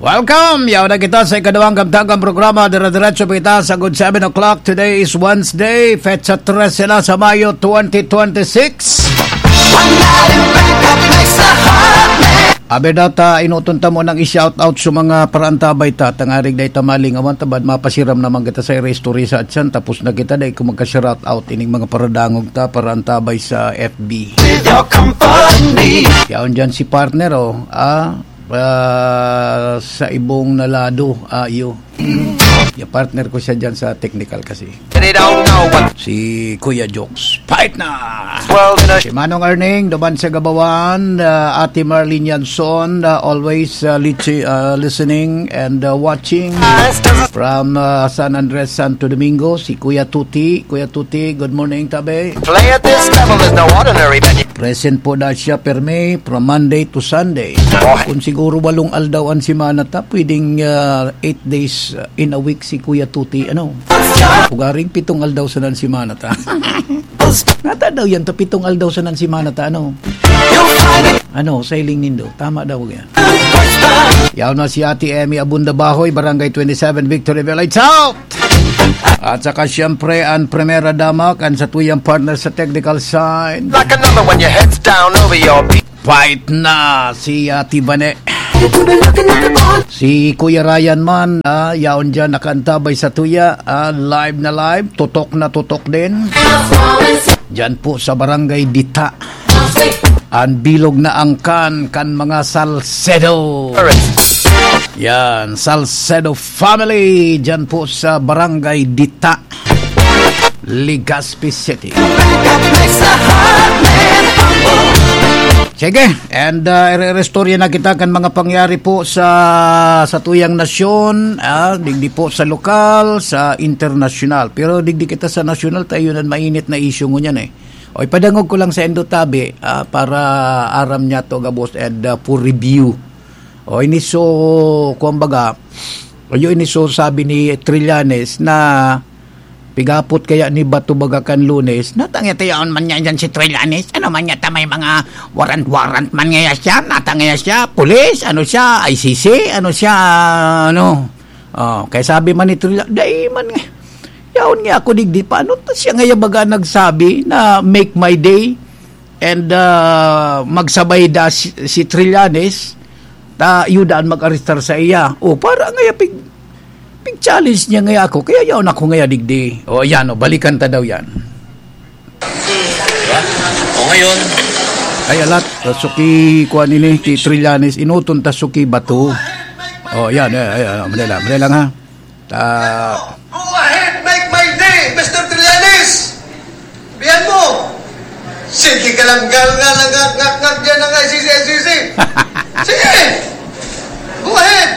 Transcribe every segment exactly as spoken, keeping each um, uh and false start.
Welcome! Yaw na kita sa ikaduhang kabtagang programa. Dire-diretso pa kita sa good seven o'clock. Today is Wednesday, petsa trese na sa Mayo twenty twenty-six. Abi data, inuton ta mo nang i-shout out sa mga paraantabay ta, tangarig dai ta malingawan, tabad mapasiram naman kita sa iristorya sa atyan, tapos na kita, dai ko magka-shout out ining mga paradangog ta, paraantabay sa F B. With your company. Yaon dyan si partner, oh. Ah, ah, sa ibong na lado, ah, iyo. Yung partner ko siya dyan sa technical kasi. They don't know what Si Kuya Jokes. Fight na! World in a Si Manong Erning, duman sa Gabawan, ah, Ate Marlene Yanson, ah, always, ah, lichi-, ah, listening and, ah, watching from, ah, San Andres, Santo Domingo, si Kuya Tuti. Kuya Tuti, good morning, tabi. Play at this level is no ordinary venue. Present po na siya, permi, from Monday to Sunday. Kung siguro walong aldaw an semana ta, pwedeng, ah, eight days, ah, in a week si Kuya Tuti, ano? Ugaring pitong aldaw sa nan semana ta. Nata daw yan, ta pitong aldaw sa nan semana ta, ano? Ano, sa hiling nindo? Tama daw yan. Yaw na si Ate Emmy Abunda Bahoy, Barangay twenty-seven, Victory Village South. At saka siyempre ang Primera Dama, kan sa tuyang partner sa technical side. Like another one, your head's down over your pe- Fight na si Ate Bane. Si Kuya Ryan man, ah, yaon dyan nakaantabay sa tuya, ah, live na live, tutok na tutok din. Dyan po sa Barangay Dita. Ang bilog na angkan kan mga Salcedo. Yan, Salcedo family, dyan po sa Barangay Dita, Legazpi City. Sige, and, uh, ire-restorya na kita kan mga pangyari po sa, sa tuyang nasyon, ah, digdi po sa lokal, sa internasyonal. Pero digdi kita sa nasyonal, tayo na mainit na issue ngunyan eh. O, ipadangog ko lang sa indo tabi, ah, para aram niya to gabos and, ah, for review. O, ini so, kumbaga, o, yun ini so sabi ni Trillanes na pigapot kaya ni Bato baga kan Lunes, natangya-tayaon man niya dyan si Trillanes. Ano man niya ta may mga warrant-warrant man niya siya, natangya siya, pulis, ano siya, I C C, ano siya, ano. Oh, kaya sabi man ni Trillanes, dai man nga. Yaon nga ako digdi, paano ta siya ngaya baga nagsabi na make my day? And, ah, magsabay da si, si Trillanes, ta iyo daan mag-arestar sa iya. O, para ngaya pig-, pig-challenge niya ngaya ako, kaya yaon ako ngaya digdi. O, yan, o, balikan ta daw yan. Diba? O, ngayon, Ay, alat, suki kuan ini, ki Trillanes, inuton ta suki bato. O, yan, ay, ay, ay, madali lang, madali lang, ha? Ta- Go ahead, make my day, Mister Trillanes! Biyan mo! Sige ka lang, gal nga, ngak, ngak, ngak, dyan ang I C C, I C C. Sige! Go ahead!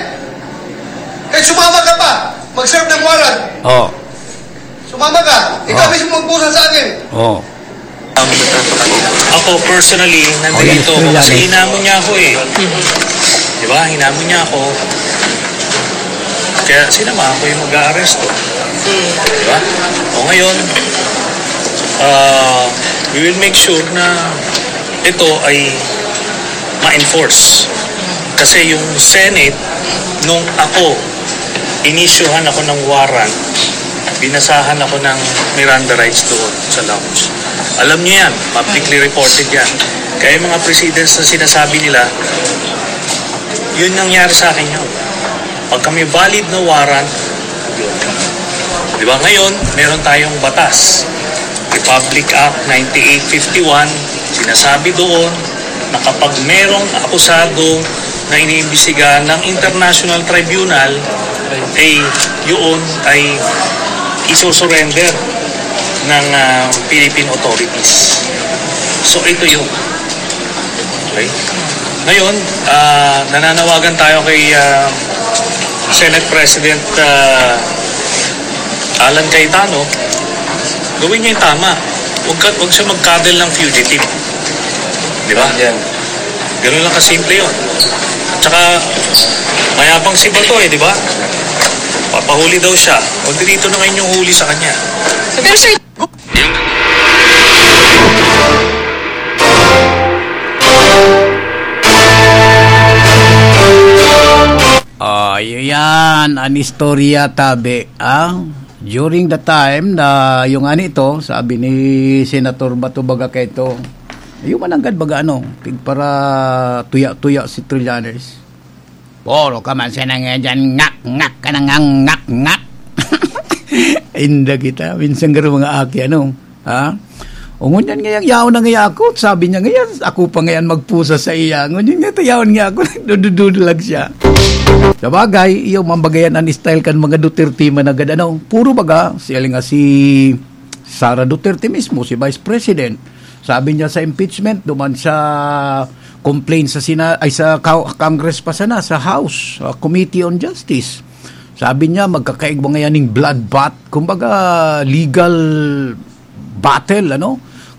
Kahit sumama ka pa, mag-serve ng warrant. Oh. Sumama ka, ikaw Oh. mismo magkusa sa akin. Oh. Um, ako, personally, nandito ako kasi hinamon niya ako eh. Di ba? Hinamon niya ako. Kaya sinamahan ko yung mag-aaresto. Di ba? O ngayon, ah, we will make sure na ito ay ma-enforce. Kasi yung Senate, nung ako, inisyuhan ako ng warrant, binasahan ako ng Miranda rights doon sa lounge. Alam niyo yan, publicly reported yan. Kaya yung mga precedents na sinasabi nila, yun nangyari sa akin yun. Pag kami valid na warrant, yun. Di ba? Ngayon, meron tayong batas. Republic Act ninety-eight fifty-one, sinasabi doon na kapag merong akusado na iniimbestigahan ng International Tribunal, eh, yun ay isusurrender ng, ah, Philippine authorities. So, ito yun. Okay? Ngayon, ah, nananawagan tayo kay, ah, Senate President, ah, Alan Cayetano, gawin niya yung tama. Huwag ka, huwag siya mag-coddle ng fugitive. Di ba? Yan. Ganun lang kasimple yun. At saka, mayabang si Bato eh, di ba? Papahuli daw siya. O, di dito na ngayon yung huli sa kanya. Pero sir, Ayan, an istorya, tabi, ah. During the time na yung ani ito, sabi ni Senator Bato baga kaito, "Iyo man nanggad baga ano, pigpara tuya-tuya si Trillanes." "Puro ka man siya nang dyan, ngak, ngak ka nang ngak, ngak." Inda kita, minsan garo mga aki, ano, ha? O ngunyan ngayang yaon na ngaya ako, sabi niya ngaya, ako pa ngayon magpusa sa iya. Ngunyan nga, yaon nga ako, nagdududulag siya. Sa bagay, iyo, mambagayan an style kan mga Duterte managad, ano, puro baga, siya nga si Sara Duterte mismo, si Vice President. Sabi niya sa impeachment, duman sa complaint sa Sina-, ay, sa Ka-, Congress pa sana, sa House, uh, Committee on Justice. Sabi niya, magkakaigwa ngayon ning bloodbath, kumbaga, legal battle, ano?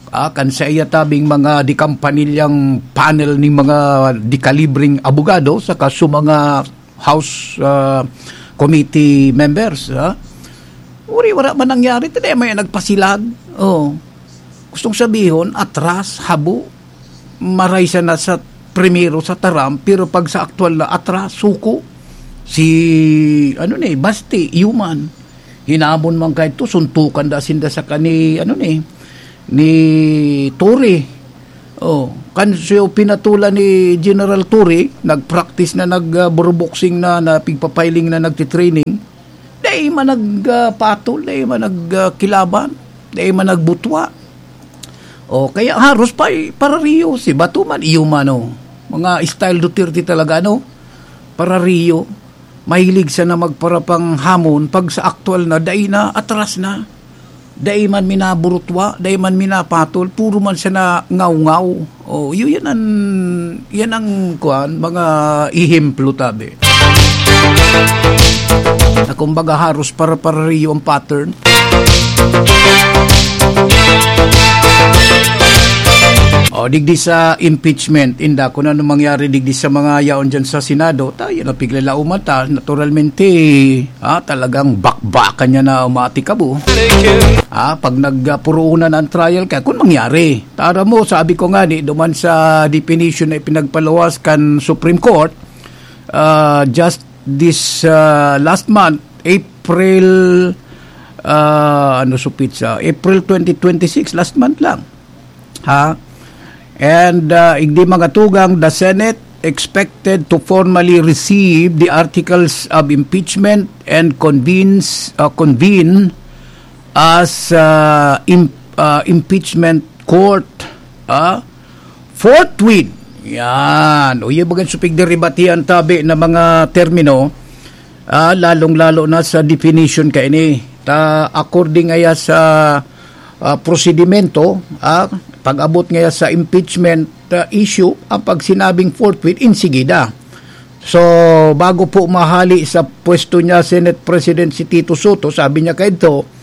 Ah, kan sa iya tabing mga dikampanilyang panel ning mga dikalibreng abogado, saka sa mga House, ah, committee members, ha? Uri, wala man nangyari, tadi may nagpasilag. Oh. Gustong sabihon, atras, habo. Maray siya na sa primero sa taram, pero pag sa aktual na atras, suko. Si, ano ni, Basti, human. Hinamon man kaito, suntukan da sinda sa kani, ano ni, ni Torre. Oh, kan siyo pinatulan ni General Torre, nag-practice na, nag, ah, buruboxing na, na pigpapiling na, nagtitraining. Dai man nag, ah, patol, dai man nag, ah, kilaban, dai man nagbutwa. Oh, kaya haros pa, eh, parariyo si Bato man, iyo man, oh. Mga style Duterte talaga, no? Parariyo. Mahilig siya na magparapanghamon, pag sa aktual na, dai na, atras na. Dai man minaburutwa, dai man minapatol, puro man siya na ngaw-ngaw. Oh, yu-, yan ang, yan ang, kuwan, mga ehemplo, tabi. Na kumbaga, haros para-parariyo ang pattern. O, digdi sa impeachment, inda, kung ano mangyari digdi sa mga yaon dyan sa Senado, tayo na piglalauman ta, naturalmente, ah, talagang bakbakan niya na umatikabo. Ah, pag nagpuruunan ang trial, kaya kung mangyari, tara mo, sabi ko nga, ni, duman sa definition na ipinagpaluwas kan Supreme Court, ah, just this, ah, last month, April, ah, ano, supit sa April twenty twenty-six, last month lang. Ha? And, ah, igdi mga tugang, the Senate expected to formally receive the articles of impeachment and convenes, ah, convene as, ah, im-, ah, impeachment court, ah, forthwith. Yan. O, yung bagang supig deribatihan tabi na mga termino, ah, lalong-lalo na sa definition kaini. Ta, according ngaya sa, ah, prosedimento, ah, pag-abot ngaya sa impeachment, ah, issue, ang pagsinabing forthwith, insigida. So, bago po mahali sa pwesto niya, Senate President si Tito Soto, sabi niya kaidto,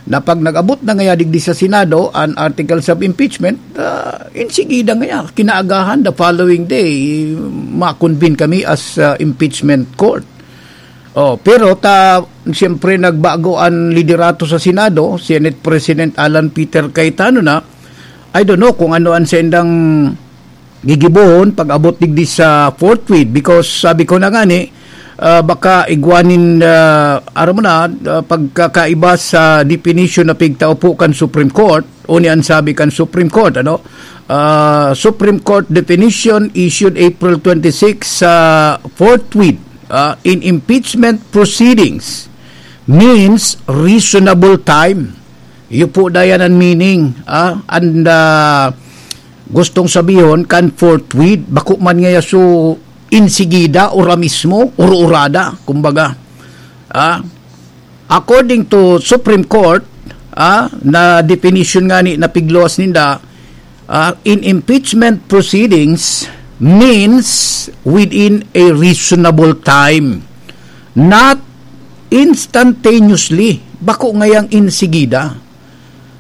na pag nag-abot na ngaya digdi sa Senado an articles of impeachment, ah, insigida ngaya, kinaagahan, the following day, ma-convene kami as, ah, impeachment court. Oh, pero ta, siyempre, nagbago an liderato sa Senado, Senate President Alan Peter Cayetano na. I don't know kung ano an sendang gigibohon pag-abot digdi sa forthwith, because sabi ko na nga ni, ah, baka igwanin, ah, aram mo na, ah, pagkakaiba sa definition na pigtao po kan Supreme Court, o ni an sabi kan Supreme Court, ano? Ah, Supreme Court definition issued April twenty-six sa forthwith, ah, in impeachment proceedings means reasonable time. Iyo po dayan ang meaning, ah, and, ah, gustong sabihon kan forthwith, bako man ngaya so insigida, ora mismo, ura-urada, kumbaga. Ah, according to Supreme Court, ah, na definition nga ni napigluwas ninda, ah, in impeachment proceedings means within a reasonable time, not instantaneously, bako ngayang insigida.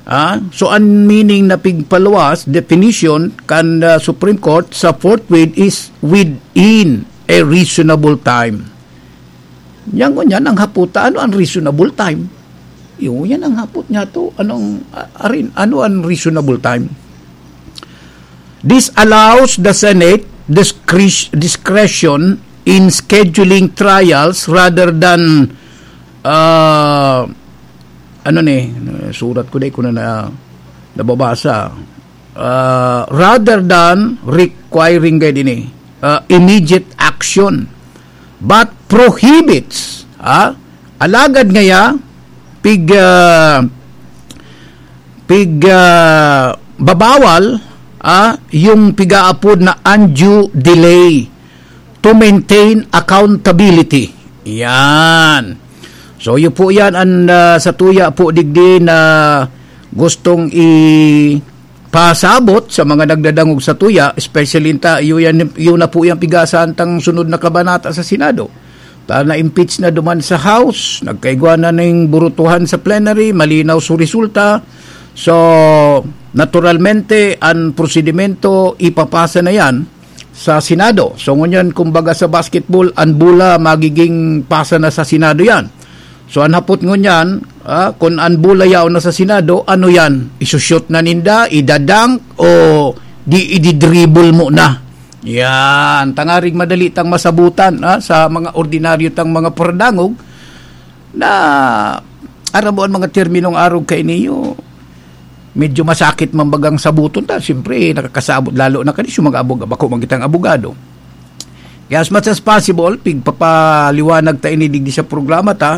Ah, so, an meaning na pigpaluwas, definition, kan, ah, Supreme Court sa forthwith is within a reasonable time. Yan, ngunyan ang hapot ta, ano ang reasonable time? Yung, yan ang hapot niya to. Anong, a-, arin, ano ang reasonable time? This allows the Senate discre-, discretion in scheduling trials rather than, ah, ano ni, surat ko, di ko na, na nababasa. Ah, rather than requiring, gaya din eh, ah, immediate action, but prohibits, ah, alagad ngaya, pig, ah, pig, ah, babawal, ah, yung pigaapod na undue delay to maintain accountability. Yan. So, yun po yan ang, ah, sa tuya po digdi na gustong ipasabot sa mga nagdadangog sa tuya, especially ta, yun, yan, yun na po yung pigasahan tang sunod na kabanata sa Senado. Ta na-impeach na duman sa House, nagkaigwa na ning burutuhan sa plenary, malinaw sa resulta. So, naturalmente, ang prosedimento, ipapasa na yan sa Senado. So, ngunyan, kumbaga sa basketball, ang bola magiging pasa na sa Senado yan. So, ang hapot ngunyan, ah, kung ang bola yaon na sa Senado, ano yan? Isushoot na ninda, idadunk, o di ididribble mo na? Yan, tangaring madali tang masabutan, ah, sa mga ordinaryo tang mga paradangog na arabo ang mga terminong arog kainiyo. Medyo masakit man bagang sabuton ta. Siyempre, nakakasabot lalo na kanis yung mga abog-, bako man kitang abogado. Kaya as much as possible, pigpapaliwanag ta ini digdi sa programa ta,